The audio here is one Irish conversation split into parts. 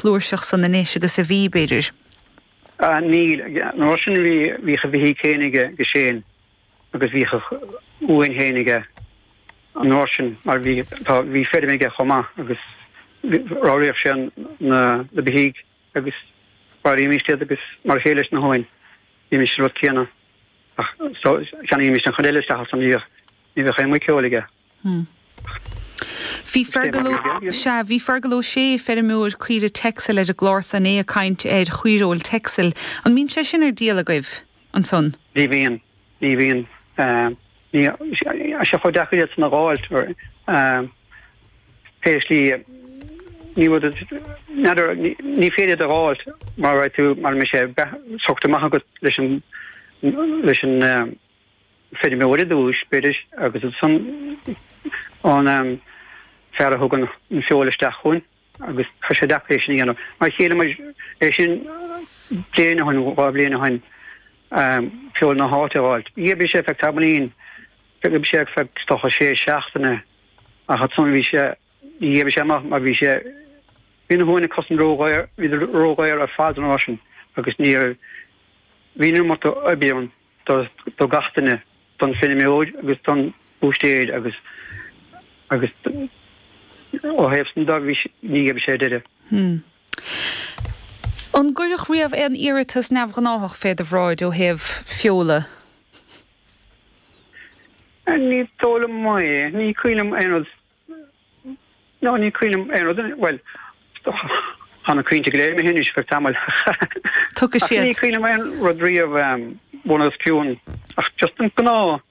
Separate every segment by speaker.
Speaker 1: flúirseach san anois agus a bhí, b'fhéidir?
Speaker 2: Níl. An uair sin bhí, bhíodh a bheithígh féin aige aige Shane agus bhíodh a uain féin aige an uair sin mar bhí, tá, bhí feirm aige chomh maith agus ramhraíodh sé na, na beithígh agus mharaímis iad agus mar a chéile leis na huain, bhímis an rud céanna ach so cheannaímis an chuid eile isteach ansan ní bheadh, ní bheadh aon muiceoil aige.
Speaker 1: Bhí Fergal Ó, sea, bhí Fergal Ó Sé, feirmeoir caoire Texel ar an gclár san, é ag caint ar chaoireoil Texel. An mbíonn sé sin ar díol agaibh ansan?
Speaker 2: Ní bhíonn, ní bhíonn. Ní, tá sé chomh deacair iad san a dh'fháilt, pé slí, ní rud, n'fheadar, ní féidir iad a dh'fháilt mara raibh tú, mara mbeidh sé socraithe amach agat leis an, leis an, feirmeoir i dtús, b'fhéidir, agus ansan an fear a thugann an feoil isteach chugainn agus tá sé deacair é sin a dhéanamh. Mar shíl muid é sin bliain ó shin, 2 bhliain ó shin, feoil na háite a dh'fháilt. D'oibrigh sé feadh tamaillín, d'oibrigh sé feadh is dócha sé seachtaine ach ansan bhí sé, ní d'oibrigh sé amach mar bhí sé, bhí na huain acusan ródhaor, bhíodar ródhaor ar fad an uair sin agus ní raibh, bhí an iomarca oibre ann. do gach duine, don feirmeoir agus don bhúistéir agus agus ó thaobh san de bhí ní raibh sé deireadh.
Speaker 1: Hmm. An gcuireadh riamh aon iarratas neamhghnáthach fé do bhráid ó thaobh feola?
Speaker 2: Ní dóigh liom é. Ní cuimhin liom aon rud No, ní cuimhin liom aon rud, bhuel, tá na cuimhnte go léir imithe anois feadh tamaill.
Speaker 1: Tiocfaidh
Speaker 2: Ach ní
Speaker 1: siad.
Speaker 2: cuimhin liom aon rud riamh bun os cionn, ach just an gnáth,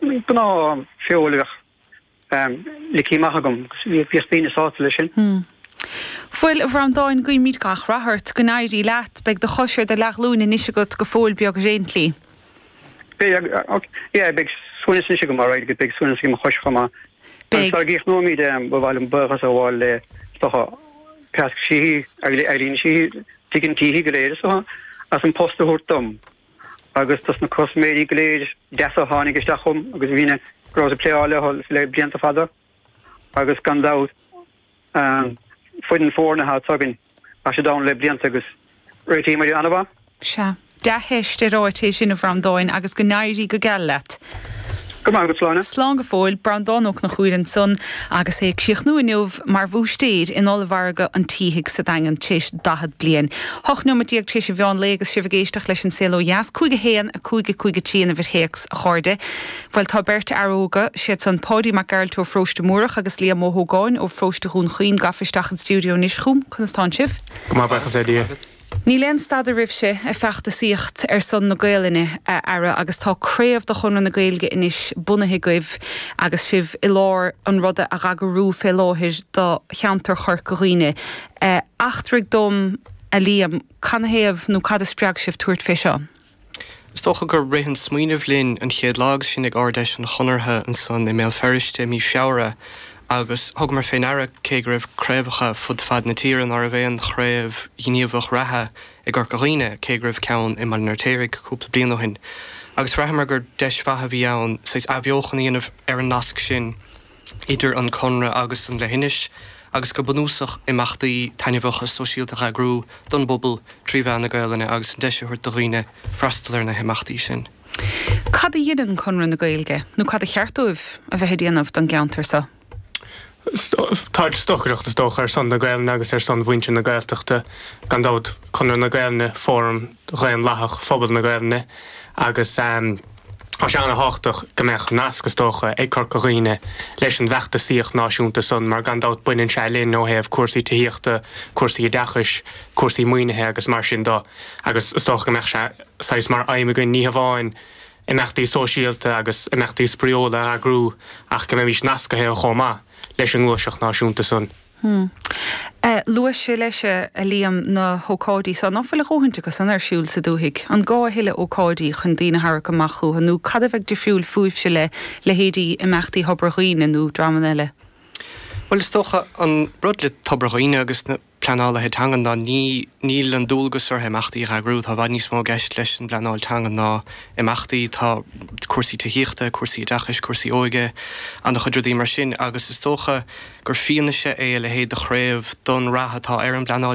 Speaker 2: an gnáth feoil a bheadh ligthe amach agam agus bhíodh daoine sásta leis sin.
Speaker 1: Bhuel, a Bhreandáin, guímid gach rath ort, go n-éirí leat. Beidh do chois ar do leathghlúin anois agat go fóill beag ar aon tslí.
Speaker 2: Beidh, yeah, beidh suaimhneas anois agam, alright, agus beidh suaimhneas ag mo chois chomh maith.
Speaker 1: Beidh.
Speaker 2: Agus sara gcríochnóimid, ba mhaith liom buíochas a ghabháil le, is dócha, Pascal Sheehy, Eileen Sheehy, Tigh an tSíthigh go léir, is dócha, as an post a thabhairt dom agus dos na custaiméirí go léir deasa a tháinig isteach chugam agus a bhí na, go rabhas ag pléáil leo le blianta fada agus gan dabht, foireann foirne atá againn, tá siad ann le blianta agus réitímid an-mhaith.
Speaker 1: Sea. Dea-theist ar áit é sin, a Bhreandáin, agus go n-éirí go geal leat.
Speaker 2: Go raibh maith agat, Sláine.
Speaker 1: Slán go fóill. Breandán Ó Conchúir ansan agus é ag críochnú inniu mar bhúistéir in Ollmhargadh an tSíthigh sa Daingean tar éis 40 bliain. 18 nóiméad tar éis an mheán lae agus sibh ag éisteacht leis An Saol Ó Dheas. 5 1 5 5 3 an uimhir théacs, a chairde. Bhuel, tá beirt fhear óga, siad san Páidí Mac Gearailt ó Pharóiste Múrach agus Liam Ó hÓgáin ó Pharóiste Dhún Chaoin gafa isteach an stiúideo anois chugam. Conas tánn sibh?
Speaker 3: Go maith, buíochas le Dia.
Speaker 1: Níl aon stadadh oraibhse ag feachtasaíocht ar son na Gaelainne, a fheara, agus tá craobh de Chonradh na Gaeilge anois bunaithe agaibh agus sibh i lár an ruda a dh'eagrú fé láthair do cheantar Chorca Dhuibhne. Eachtraigh dom, a Liam, canathaobh nó cad a spreag sibh tabhairt fé seo?
Speaker 3: Is dócha gur rith an smaoineamh linn an chéad lá agus sinn ag Ard-Fheis an Chonartha ansan i mBéal Feirste i mí Feabhra agus thugamar fé ndeara cé go raibh craobhacha fud fad na tíre ná raibh aon chraobh ghníomhach reatha i gCorca Dhuibhne cé go raibh ceann i mBaile an Fheirtéaraigh cúpla bliain ó shin agus bhraitheamar gur deis mhaith a bhí ann saghas athbheochan a dhéanamh ar an nasc sin idir an Conradh agus an leithinis agus go bunúsach imeachtaí taitneamhacha sóisialta a eagrú don bpobal trí mheán na Gaelainne agus an deis a thabhairt do dhaoine freastal ar na himeachtaí sin.
Speaker 1: Cad a dheineann Conradh na Gaeilge, nó cad a cheart dóibh a bheith ag déanamh don gceantar seo?
Speaker 3: Tá stocaireacht is dócha ar son na Gaelainne agus ar son mhuintir na Gaeltachta. Gan dabht, Conradh na Gaelainne, fóram dhaonlathach phobal na Gaelainne agus tá sé ana-thábhachtach go mbeadh nasc, is dócha, ag Corca Dhuibhne leis an bhfeachtasaíocht náisiúnta san mar gan dabht baineann sé linn ó thaobh cúrsaí tithíochta, cúrsaí oideachais, cúrsaí maoinithe agus mar sin de agus is dócha go mbeadh sé saghas mar aidhm againn ní hamháin imeachtaí sóisialta agus imeachtaí spraíúla a eagrú ach go mbeimís nascaithe chomh maith leis an ngluaiseacht náisiúnta san.
Speaker 1: Hmm. Luaigh sé leis, a Liam, na hócáidí so. Ná fuil a dhóthaint acu san ar siúl sa dúthaigh? An gá a thuilleadh ócáidí chun daoine a tharrac amach chucu nó cad a bheadh difriúil fúibhse le leithéidí imeachtaí Thobar Dhuibhne nó dreamanna eile?
Speaker 3: Bhuel, is dócha, an rud le Tobar Dhuibhne agus na pleanálaithe teanga ná ní, níl an dualgas orthu imeachtaí a eagrú. Tá i bhfad níos mó i gceist leis an bpleanáil teanga ná imeachtaí. Tá cúrsaí tithíochta, cúrsaí oideachais, cúrsaí óige, an-chuid rudaí mar sin agus is dócha gur fianaise é a leithéid de chraobh don rath atá ar an bpleanáil teanga.